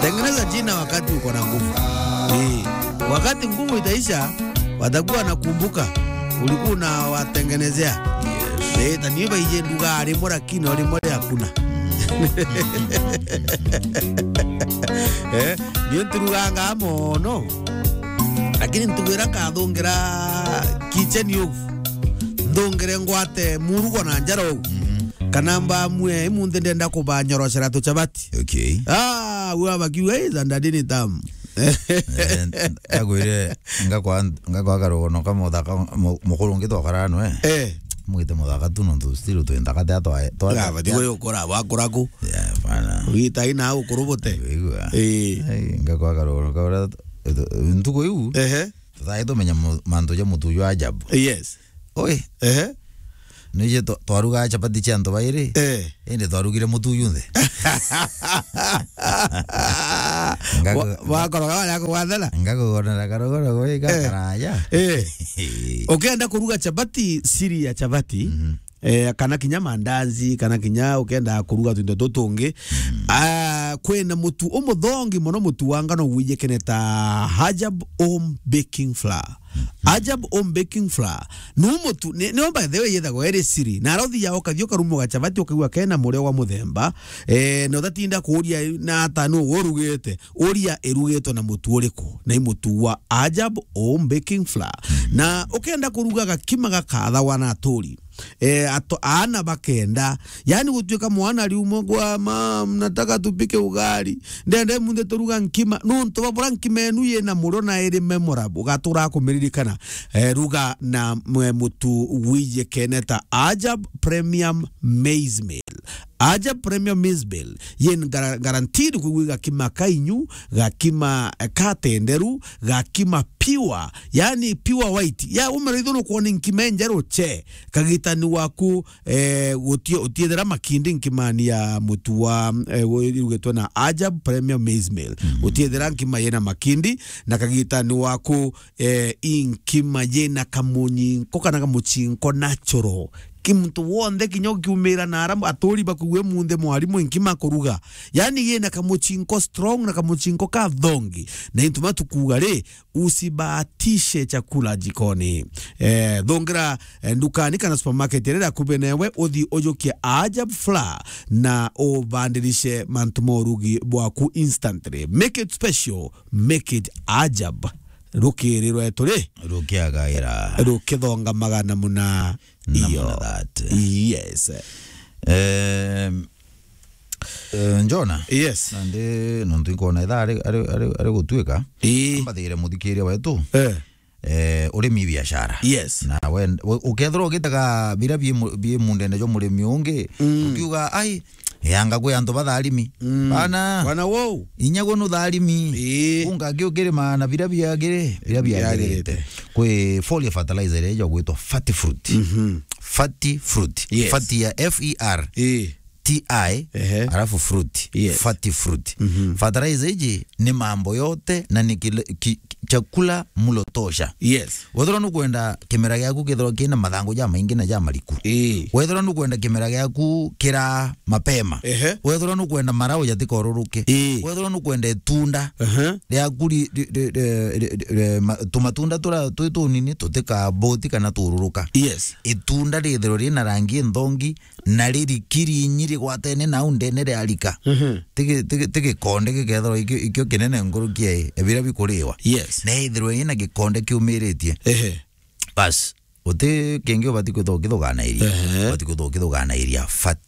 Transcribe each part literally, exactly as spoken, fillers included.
Tengeneza jina wakati uko na nguvu. Eh, wakati nguvu itaisha, watakuwa wanakumbuka ulikuwa unawatengenezea. Yes. Eh, ta niyo baije nduga rimwe lakini o rimwe ri hakuna. Eh, niyo nturuganga mono. Lakini ntugira nkathungira kitchen ugu. Nthungire ngwate murugo na njara ugu. Mhm. Kana mbamue, imunthi ndenda kubanyorocera tuchabati. Okay. Ah, we abakiuga, "Hey, za ndadi ni tamu." Eh, agwire, ngakwa, ngakwa karogono ka muthaka, mu-, mukuru ungi twakarana nwe. Eh. Mwite muthaka tu nontu still twi nthaka te twa, twa, Ah, bati we ukora, wakora ku. Yeah, bana. Wita ina ukuru bote. Igua. Eh. Ai, ngakwa karogono ka ura, ntuku iu. Ehe. Tuthae tumenya mu-, mantu ja mutu jwa ajabu. Yes. Oi. Ehe. Nije twa-, twaruga chapati cia antu bairi. Eh. Indi twarugire mutu junthe. Ngaku-, Wa-, wakoroga wale akugwathana? Ngakugonera karogoro gwe Eh. gakaraya. Eh. Ukenda kuruga chapati, siri ya chapati, Mhm. eh, kana kinya mandazi, kana kinya ukenda kuruga tuindo tutungi. Mm. Ah, kwina mutu umuthongi mono, mutu wa ngano gwijikene ta Ajab Home Baking Flour. Ajab Home Baking Flour. Nu mutu, ni, ni by the way yethagwo iri siri. Na ara uthia ukathia ukarumwa gachabati ukaigua kena murio wa muthemba. Eh, na utatinda kuuria na ata nu urugite. Uria irugitwe na mutu uriku. Na i mutu wa Ajab Home Baking Flour. Na ukenda kuruga gakima gakathawa na aturi. Eh, ato-, aana bakenda. Yani gutuika mwana ariumwa gwa, "Mam, nataka tupike ugali." Ndende munthe turuga nkima. Nontu babura nkima enu yina murio na iri memorable. Ugatura kumiririkana. Eh, ruga na mwe mutu wije keneta Ajab Premium Maize Meal. Ajab Premium Maize Meal. Yin gara-, guaranteed kuigua gakima kainyu, gakima, eh, katenderu, gakima pure. Yani pure white. Ya umeraitho no kuona nkima enjeru che. Kagitani waku eh, guti-, utiethera makindi nkimani ya mutu wa, eh, gu-, irugitwe na Ajab Premium Maize Meal. Mhm. Utiethera nkima yena makindi, na kagitani waku, eh, i nkima yena kamunyinko kana kamuchinko natural. Ki muntu wonthe kinya ukiumira na ara aturi bakuigua munthe mwarimu nkima kuruga. Yani yena kamuchinko strong na kamuchinko kathongi. Na intuma tukuga ri, usibahatishe chakula jikoni. Eh, thungira, eh, ndukani kana supermarket iria iri akubi newe, uthi ujukie Ajab Flour na ubandirishe mantu ma urugi bwaku instantly. Make it special, make it Ajab. Rukiri rwetu ri? Rukiagaira. Rukithongamaga na muna Na iyo. Muna that. Yes. Em, Eh, Njona? Yes. Nandi nontu inkona ithaa ari, ari, ari, ari gutuika. Ii. Mbathire muthikiria wetu. Eh. Eh, urimi biashara. Yes. Na we, u-, ukethirwa ugitega biria bi mu-, bi mundene jwa murimi ungi, Mm. ukiuga, "Ai, yanga kwi antu batharimi." Mm. Bana. Bana wou. Inya gwe nutharimi. Ii. Unga ki ukirima na biria biagiri, biria biagirite. Biagirite. Kwi foliar fertilizer iria ijagwitwa Fertifruit. Mhm. Fertifruit. Yes. Fati ya F E R. Ii. T I, Ehe. Alafu fruit, Yes. Fertifruit. Mhm. Fertilizer iji ni mambo yote na ni kile, ki, ki, chakula mlo tosha. Yes. Wethirwa nukwenda kimera giaku kithirwa kina mathangu ja maingi na ja mariku. Ii. Wethirwa nukwenda kimera giaku kira mapema. Ehe. Wethirwa nukwenda marau jatikoruruke. Ii. Wethirwa nukwenda itunda Ehe. riaku ri, ri, ri, ri, ri, ri, ma, tumatunda tura twi tunini tutikaboti kana tururuka. Yes. Itunda rithirwa rina rangi nthongi na riri kirinyi rigwatene nau ndene riarika. Mhm. Tigi-, tigi-, tigikonde gikethirwa ikio, ikio kinene nkuruki ya biria bikuriwa. Yes. Na ithirwe ina gikonde kiumiritie. Ehe. Bas, uti kingi ubati kwithirwa ukithuganairia. Ehe. Ubati kwithirwa ukithuganairia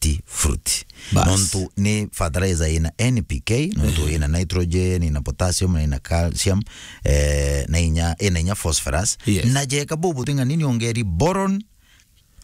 Fertifruit. Bas. Nontu ni fertilizer ina N P K, nontu Ehe. ina nitrogen, ina potassium, na ina calcium, eh, na inya, ina inya phosphorus. Yes. Na jeka bubu ting'ani ni ongeri boron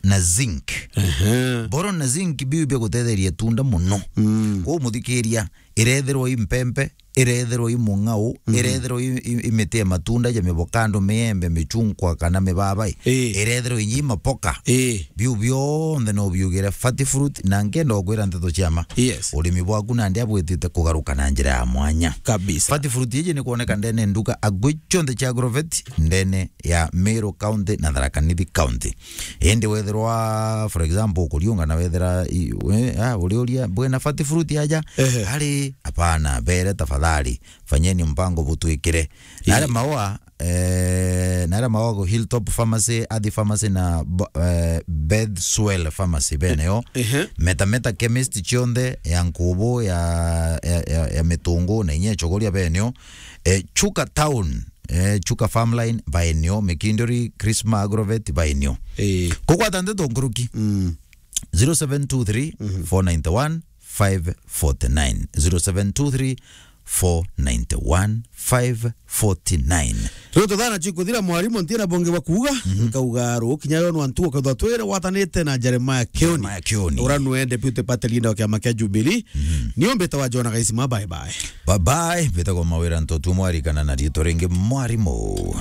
na zinc. Ehe. Boron na zinc biu bia gutetheria itunda muno. Mm. Kwou muthikiria, irethirwa i mpempe, irethirwa i mung'au, Mhm. irethirwa i, i, i miti ya matunda ja mivokando, miembe, michungwa kana mibabai, Ii. irethirwa inya i mapoka. Ii. Biu bionthe no biugire Fertifruit, na nkenda ukwira nteto cia ma. Yes. Urimi bwaku nandi abwitite kugaruka na njira ya mwanya. Kabisa. Fertifruit iji ni kuoneka ndene nduka agwi cionthe cia Agrovet ndene ya Meru County na Tharaka Nithi County. Indi wethirwa, for example, ukuriunga na wethira i-, we, ah, uriuria, "Bwina Fertifruit aja?" Ehe. Ari, "Hapana, bere tafadhali." Ndagitari. Fanyeni mpango butwikire. Na aria maua, eh, na aria maua go Hilltop Pharmacy, Athi Pharmacy na bo-, eh, Bethswell Pharmacy beneo. Ehe. Meta Meta Chemist cionthe ya Nkubu, ya, ya, ya, ya Mitungu na inya Chogoria beneo. Eh, Chuka Town, eh, Chuka Farmline baeneo, Mikinduri, Krisma Agrovet baeneo. Eh. Kugwata ndeto nkuruki. Mm. zero seven two three, four nine one, five forty nine. zero seven two three, four nine one, five forty nine. Riu tuthana chikuthira mwarimu ntina bonge wa kuuga, nkauga rukinya yo nwantu ukethwa twire watanite na Jeremiah Kioni. Jeremiah Kioni. Ura nwe deputy party leader wa kiama kia Jubilee. Ni umbite wa Jona Gaisima, bye bye. Bye bye, mbitagwo Mawira Ntotu mwarikana na riitwa ringi mwarimu.